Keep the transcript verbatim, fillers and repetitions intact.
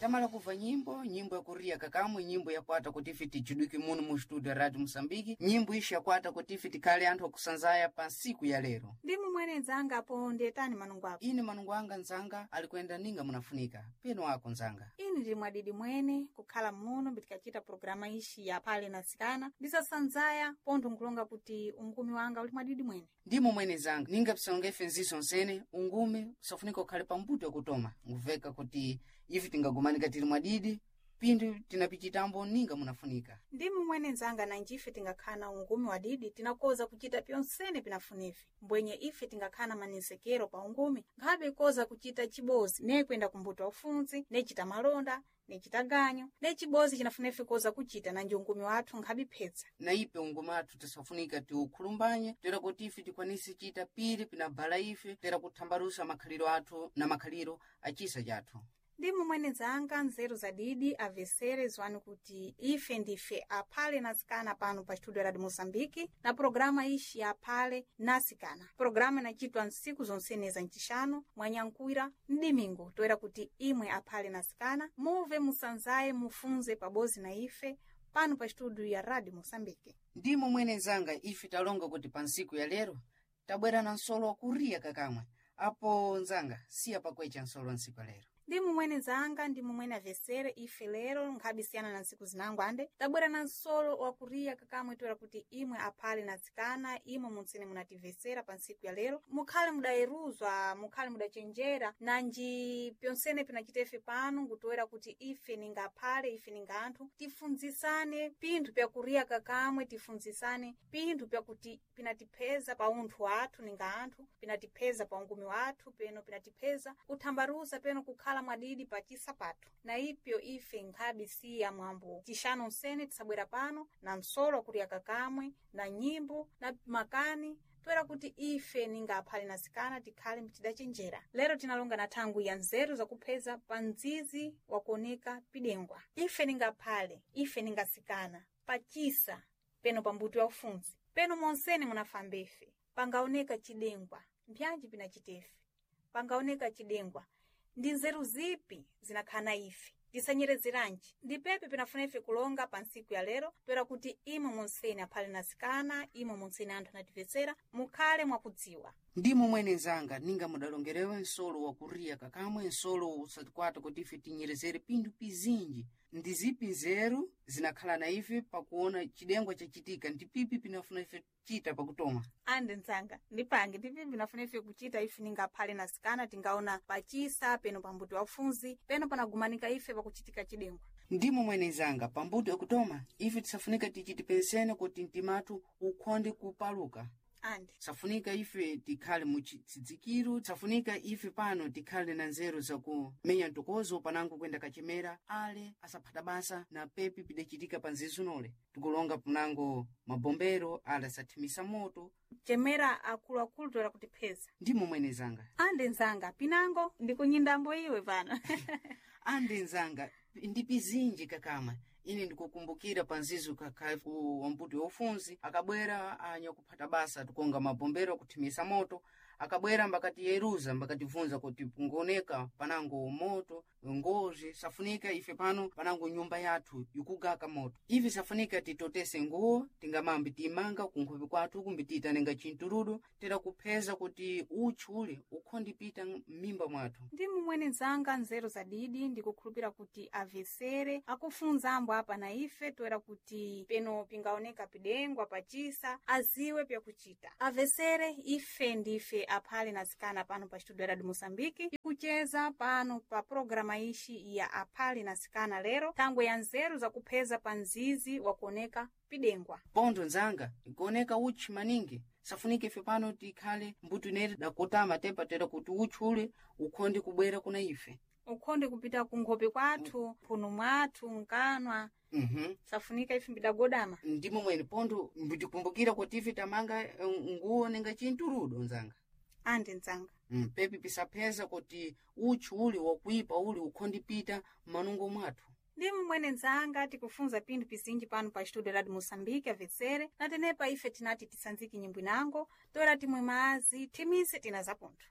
Tamala kuva nyimbo, nyimbo yakuria kakamwe, nyimbo yakwata kuti ife tichidwike muno mu studio ya Radio Mosambiki, nyimbo ishi yakwata kuti ife tikhale anthu akusanzaya pa nsiku ya lero. Ndimu mwene nzanga apo ndiyetani manungo ako. Ine manungo anga nzanga alikwenda ninga munafunika, peno ako nzanga. Ine ndili mwadidi mwene kukhala muno mbitikachita programa ishi ya phale na sikana ndisasanzaya pontho nkulonga kuti ungumi wanga uli mwadidi mwene. Ndimo mwene zanga ninga pisalonga ife nziso nsene ungume usafunika ukhale pambuto yakutoma nguveka kuti ife tingagumanika tili mwadidi pindu tinapichitambo ninga munafunika. Ndimu mwene nzanga nanji ife tingakhala na ungumi wadidi tinakoza kuchita pyonsene pinafunife mbwenye ife tingakhala na manisekero pa ungumi nkhabe ikoza kuchita chibozi ne kwenda kumbuto wa ufunzi nechita malonda nechita ganyu ne chibozi chinafunefe koza kuchita nanji ungumi wathu nkhabe phetsa. Na ipe ungumi athu tisafunika tiukhulumbanye tera kuti ife tikwanise chita pili pinabala ife tera kuthambalusa makhaliro athu na makhaliro achisa chathu. Ndimu mwene nzanga nzeru za didi avesere zwani kuti ife ndife aphale na sikana pano pa studio Radio Moçambique na programa ishi ya aphale na sikana. Programa inachitwa nsiku zonsene za ncixano mwanyankuira mdimingo toera kuti imwe aphale na sikana muve musanzaye mufunze pabozi na ife pano pa studio ya Radio Moçambique. Ndimo mwene nzanga ife talonga kuti pa nsiku ya lero tabwera na nsolo wakuriya kakamwe apo nzanga siya pakwecha nsolo wa nsiku ya lero. Ndimu mwene nzanga ndimu mwene avesere ife lero nkhabe siyana na ntsiku zinango ande tabwera na nsolo wakuriya kakamwe toera kuti imwe aphale na tsikana imwe muntsene munativesera pa ntsiku ya lero mukhale mudayeruzwa mukhale mudachenjera nanji pyonsene pinachita ife pano ngutoera kuti ife ninga aphale ife ninga anthu tifunzisane pinthu pyakuriya kakamwe tifunzisane pinthu pyakuti pinatipheza pa unthu wathu ninga anthu pinatipheza pa ungumi wathu peno pinatipheza kuthambaluza peno kukhala mwadidi pa chisa pathu na ipyo ife nkhabe siya mwambo tixano nsene tisabwera pano na msolo wakuriya kakamwe na nyimbo na makani toera kuti ife ninga aphale na sikana tikhale tidachenjera. Lero tinalonga na thangu ya nzeru zakupheza pa mdzizi wakuoneka pidengwa. Ife ninga aphale ife ninga sikana pachisa peno pambuto ya ufunzi peno monsene munafamba ife pangaoneka chidengwa mpyanji pinachitefe pangaoneka chidengwa ndi nzeru zipi zinakhala ife tisanyerezeranji ndipepe pinafuna ife kulonga pa ntsiku ya lero toera kuti imwe monsene aphale na sikana imwe monsene anthu anativesera mukhale mwakudziwa. Ndimo mwene nzanga ninga mudalongerewe nsolo wakuriya kakamwe nsolo usatikwata kuti ife tinyerezere pinthu pizinji ndi zipi nzeru zinakhala na ife pakuona chidengwa chachitika ndi pipi pinafuna ife chita pakutoma. Ande nzanga ndipange ndipipi pinafuna ife kuchita ife ninga aphale na sikana tingaona pachisa peno pambuto wa ufunzi peno panagumanika ife pakuchitika chidengwa. Ndimo mwene nzanga pambuto yakutoma ife tisafunika tichiti pensene kuti mtimathu ukhonde kupaluka. Ande Safunika ife tikhale muchitsidzikiro safunika ife pano tikhale na nzeru zakumenya mtokozo panango kwenda kachemera ale asaphata basa na pepi pidachitika pa nzizinole tikulonga panango mabombero ale asathimisa moto. Chemera akuluakulu toera kutipheza. Ndimo mwene zanga Ande nzanga pinango ndikunyindambo iwe pano. Ande nzanga ndi pizinji kakama ine ndikukumbukira pa nzizo kakha ku wambuto yofunzi akabwera anyakuphata basa tikonga mabombero akuthimisa moto akabwera mbakatiyeruza mbakatibvunza kuti pungoneka panango moto ngozi safunika ife pano panango nyumba yathu ikugaka moto ife safunika titotese nguwo tingamambi tiyimanga kunkhope kwathu kumbi tiyitanenga chintuludu tera kupheza kuti utchi ule ukhondipita m'mimba mwathu. Ndimu mwene nzanga nzeru za didi ndikukhulupira kuti avesere akufunza ambo apa na ife toera kuti peno pingaoneka pidengwa pachisa aziwe pyakuchita. Avesere ife ndife aphale na sikana pano pa studio Radio Moçambique ikucheza pano pa programa ishi ya aphale na sikana lero thangwe ya nzeru zakupheza pa mzizi wakuoneka pidengwa. Pontho nzanga ikuoneka utchi maningi safunika ife pano tikhale mbuto ineri dakotama tepa tera kuti utchi ule ukhonde kubwera kuna ife. Ukhonde kupita kunkhope kwathu mphuno mwathu nkanwa Mm-hmm. safunika ife mbidagodama. Ndimo mwene pontho mbitikumbukira kuti ife tamanga eh, nguwo ninga chintuludo nzanga. Ande nzanga Mm, pepi pisapheza kuti utchi uli wakuipa uli ukhondipita m'manungo mwathu. Ndimu mwene nzanga tikufunza pinthu pizinji pano pa studio Radio Moçambique avesere na tenepa ife tinati tisanzike nyimbo inango toera timwe mazi thimise tina zapontho.